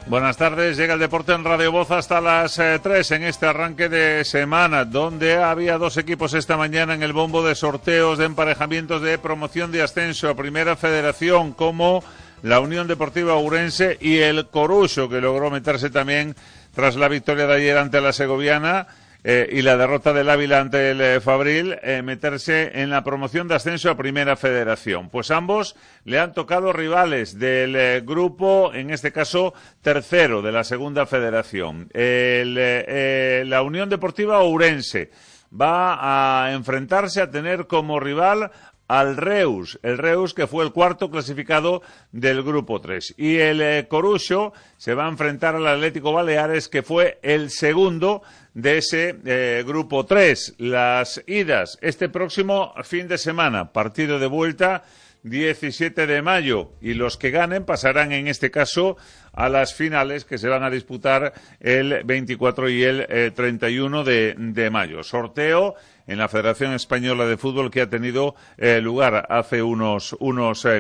Buenas tardes, llega el deporte en Radio Voz hasta las 3 en este arranque de semana, donde había dos equipos esta mañana en el bombo de sorteos de emparejamientos de promoción de ascenso a Primera Federación, como la Unión Deportiva Ourense y el Coruxo, que logró meterse también tras la victoria de ayer ante la Segoviana y la derrota del Ávila ante el Fabril, meterse en la promoción de ascenso a Primera Federación. Pues ambos le han tocado rivales del grupo, en este caso tercero de la Segunda Federación. La Unión Deportiva Ourense va a enfrentarse, a tener como rival al Reus, el Reus que fue el cuarto clasificado del grupo 3. Y el Coruxo se va a enfrentar al Atlético Baleares, que fue el segundo de ese grupo 3. Las idas este próximo fin de semana, partido de vuelta 17 de mayo, y los que ganen pasarán en este caso a las finales que se van a disputar el 24 y el 31 de mayo. Sorteo en la Federación Española de Fútbol que ha tenido lugar hace unos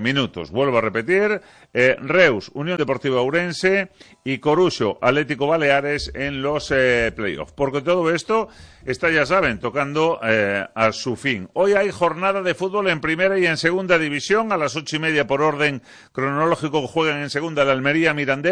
minutos. Vuelvo a repetir, Reus, Unión Deportiva Ourense y Coruxo, Atlético Baleares en los playoffs. Porque todo esto está, ya saben, tocando a su fin. Hoy hay jornada de fútbol en Primera y en Segunda División. A las 8:30 por orden cronológico juegan en Segunda el Almería Mirandés,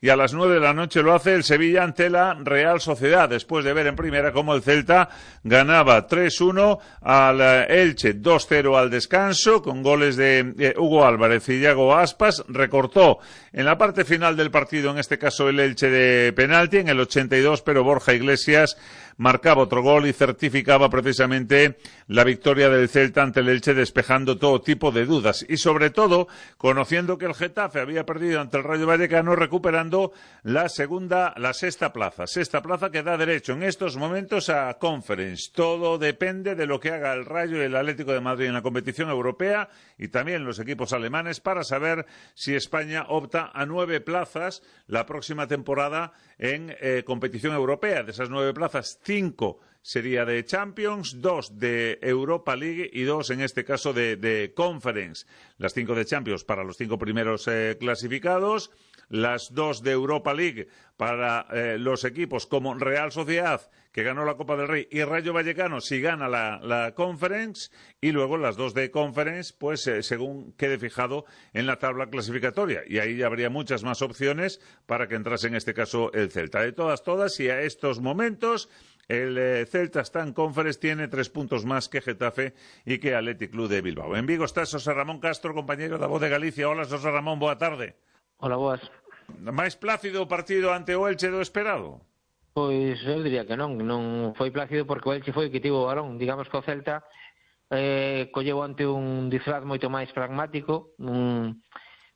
y a las 9 de la noche lo hace el Sevilla ante la Real Sociedad, después de ver en Primera cómo el Celta ganaba 3-1 al Elche, 2-0 al descanso, con goles de Hugo Álvarez y Iago Aspas. Recortó en la parte final del partido, en este caso el Elche, de penalti en el 82, pero Borja Iglesias marcaba otro gol y certificaba precisamente la victoria del Celta ante el Elche, despejando todo tipo de dudas y sobre todo conociendo que el Getafe había perdido ante el Rayo Vallecano, recuperando la sexta plaza que da derecho en estos momentos a Conference. Todo depende de lo que haga el Rayo y el Atlético de Madrid en la competición europea, y también los equipos alemanes, para saber si España opta a 9 plazas la próxima temporada en competición europea. De esas 9 plazas, 5 sería de Champions, 2 de Europa League y 2 en este caso de Conference. Las 5 de Champions para los 5 primeros clasificados, las 2 de Europa League para los equipos como Real Sociedad, que ganó la Copa del Rey, y Rayo Vallecano si gana la Conference, y luego las 2 de Conference, pues según quede fijado en la tabla clasificatoria, y ahí habría muchas más opciones para que entrase en este caso el Celta. De todas, y a estos momentos el Celta está en Conference, tiene 3 puntos más que Getafe y que Athletic Club de Bilbao. En Vigo está José Ramón Castro, compañero da Voz de Galicia. Hola, José Ramón, boa tarde. Hola, boas. Máis plácido o partido ante o Elche do esperado? Pois eu diría que non foi plácido, porque o Elche foi o que tivo o balón. Digamos que o Celta colleu ante un disfraz moito máis pragmático,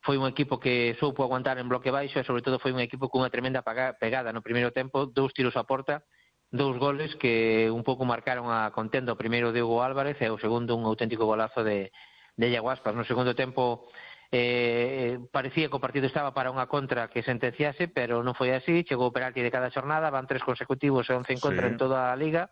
foi un equipo que soupo aguantar en bloque baixo, e sobre todo foi un equipo cunha tremenda pegada no primeiro tempo, 2 tiros a porta, 2 goles que un pouco marcaron a contenda. O primeiro de Hugo Álvarez e o segundo un auténtico golazo de Iago Aspas. No segundo tempo parecía que o partido estaba para unha contra que sentenciase, pero non foi así. Chegou o penalti de cada xornada, van 3 consecutivos e 11 en contra en toda a Liga,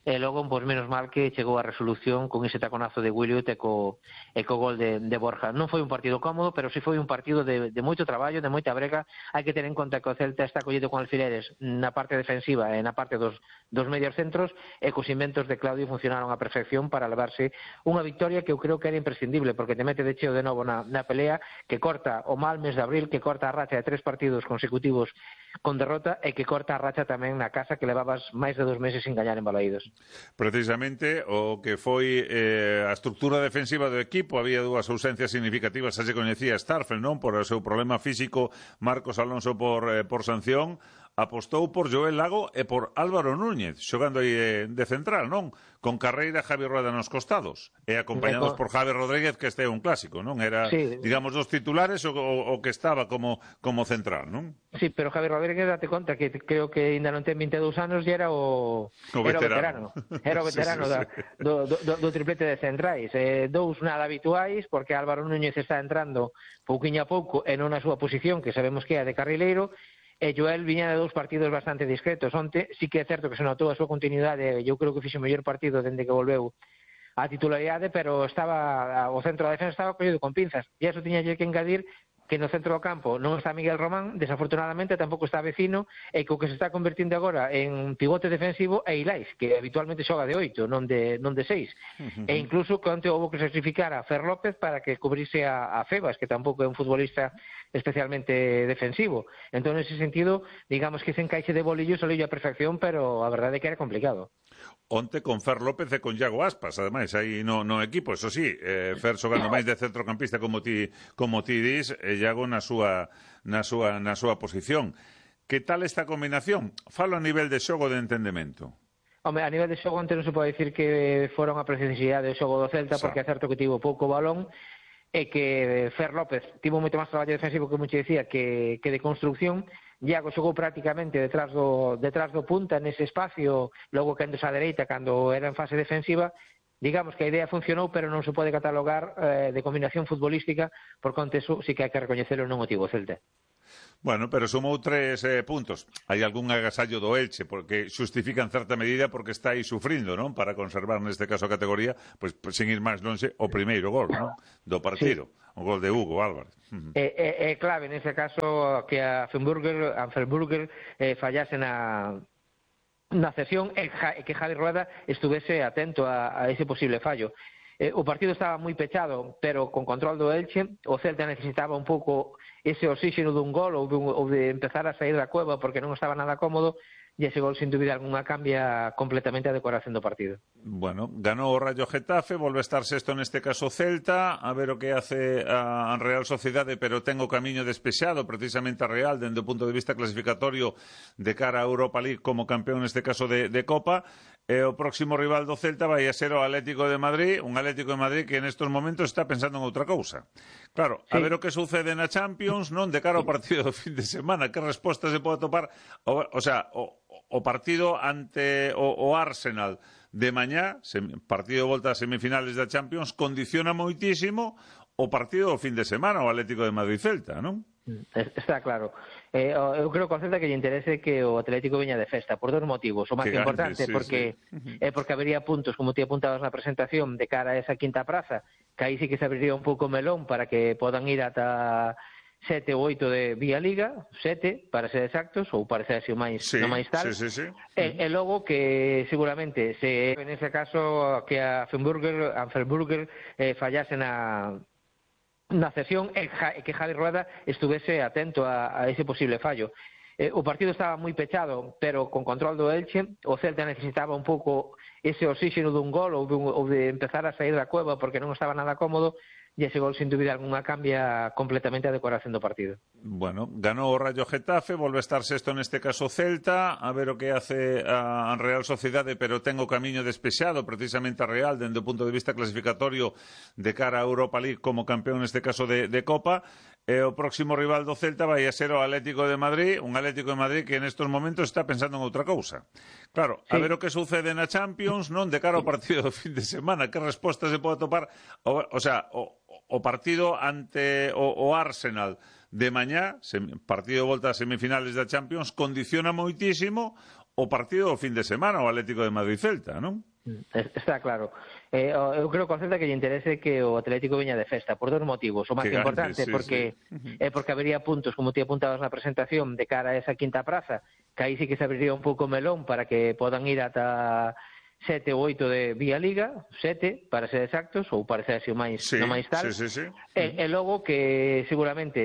e logo, pois menos mal que chegou a resolución con ese taconazo de Williot e co gol de Borja. Non foi un partido cómodo, pero sí foi un partido de moito traballo, de moita brega. Hai que ter en conta que o Celta está collido con alfileres na parte defensiva e na parte dos medios centros, e cos inventos de Claudio funcionaron a perfección para levarse unha victoria que eu creo que era imprescindible, porque te mete de cheo de novo na pelea, que corta o mal mes de abril, que corta a racha de 3 partidos consecutivos con derrota, e que corta a racha tamén na casa, que levabas máis de 2 meses sin gañar en Balaídos. Precisamente o que foi a estructura defensiva do equipo, había 2 ausencias significativas, xa se coñecía Starfel, non, por o seu problema físico, Marcos Alonso por sanción. Apostou por Joel Lago e por Álvaro Núñez, xogando aí de central, non? Con Carreira e Javi Rueda nos costados, e acompañados por Javi Rodríguez, que este é un clásico, non? Era, sí, digamos, dos titulares o que estaba como central, non? Sí, pero Javi Rodríguez, date conta que creo que ainda non ten 22 anos e era o veterano. Era o veterano sí. do triplete de centrais. 2 nada habituais, porque Álvaro Núñez está entrando pouquiño a pouco e non na súa posición, que sabemos que é a de carrileiro, e Joel viña de 2 partidos bastante discretos. Onte sí que é certo que se notou a súa continuidade, eu creo que fixe o mellor partido dende que volveu a titularidade, pero estaba o centro da defensa estaba collido con pinzas, e iso tiña que engadir que no centro do campo non está Miguel Román, desafortunadamente tampouco está Vecino, e que o que se está convertindo agora en pivote defensivo é Ilais, que habitualmente xoga de 8, non de 6. E incluso que onte houve que sacrificar a Fer López para que cubrise a Febas, que tampouco é un futbolista especialmente defensivo. Entón, nese sentido, digamos que ese encaixe de bolillo saliu a perfección, pero a verdade é que era complicado. Onte con Fer López e con Iago Aspas, ademais, aí no equipo, eso sí, Fer xogando máis de centrocampista como ti dis, e Iago na súa posición. Que tal esta combinación? Falo a nivel de xogo de entendemento. Home, a nivel de xogo antes non se pode dicir que foron a precisidade do xogo do Celta, porque é certo que tivo pouco balón, e que Fer López tivo moito máis traballo defensivo, que mucho decía, que de construcción. Iago xogou prácticamente detrás do punta nese espacio, logo quendos á dereita cando era en fase defensiva. Digamos que a idea funcionou, pero non se pode catalogar de combinación futbolística, porque onte eso sí que hai que recoñecelo, non o tivo o Celta. Bueno, pero sumou 3 puntos. Hai algún agasallo do Elche, porque xustifica en certa medida porque está aí sufrindo, non? Para conservar neste caso a categoría, pues sin ir máis longe, o primeiro gol, non? Do partido, sí. O gol de Hugo Álvarez. É clave nese caso que a Anfelburger fallase na cesión e que Javi Rueda estuvese atento a ese posible fallo. O partido estaba moi pechado, pero con control do Elche. O Celta necesitaba un pouco ese oxígeno dun gol ou de empezar a sair da cueva porque non estaba nada cómodo, e ese gol, sin dúbida alguna, cambia completamente a decoración do partido. Bueno, ganou o Rayo Getafe, volve a estar sexto neste caso Celta, a ver o que hace a Real Sociedade, pero ten o camiño despexado precisamente a Real, dende o punto de vista clasificatorio de cara a Europa League como campeón neste caso de Copa. E o próximo rival do Celta vai a ser o Atlético de Madrid, un Atlético de Madrid que nestes momentos está pensando en outra cousa. Claro, sí. A ver o que sucede na Champions, non? De cara ao partido do fin de semana, que resposta se pode topar? O sea, o partido ante o Arsenal de mañá, partido de volta a semifinales da Champions, condiciona moitísimo o partido do fin de semana, o Atlético de Madrid-Celta, non? Está claro. Eu creo que ao Celta que lle interese que o Atlético veña de festa por 2 motivos. O máis importante, porque habería puntos, como ti apuntabas na presentación, de cara a esa quinta praza, que aí sí que se abriría un pouco melón para que podan ir ata 7 ou 8 de Vía Liga, 7 para ser exactos, ou parecerse o máis tal. E logo que seguramente se en ese caso que a Anfelburger fallase na cesión e que Javi Rueda estuvese atento a ese posible fallo. O partido estaba moi pechado, pero con control do Elche. O Celta necesitaba un pouco ese oxígeno dun gol ou de empezar a sair da cueva porque non estaba nada cómodo, e ese gol, sin dúbida alguna, cambia completamente a decoración do partido. Bueno, ganou o Rayo Getafe, volve a estar sexto neste caso Celta, a ver o que hace a Real Sociedade, pero ten o camiño despexado precisamente a Real, dende o punto de vista clasificatorio de cara a Europa League como campeón neste caso de Copa. E o próximo rival do Celta vai a ser o Atlético de Madrid, un Atlético de Madrid que nestes momentos está pensando en outra cousa. Claro, sí. A ver o que sucede na Champions, non? De cara ao partido do fin de semana, que resposta se pode topar? O sea, o partido ante o Arsenal de mañá, partido de volta a semifinales da Champions, condiciona moitísimo o partido do fin de semana, o Atlético de Madrid-Celta, non? Está claro. Eu creo que ao Celta que lle interese que o Atlético veña de festa por 2 motivos. O máis importante, porque habería puntos, como ti apuntabas na presentación, de cara a esa quinta praza, que aí sí que se abriría un pouco melón para que podan ir ata 7 ou 8 de Vía Liga, 7 para ser exactos, ou parecerse o máis tal. E logo que seguramente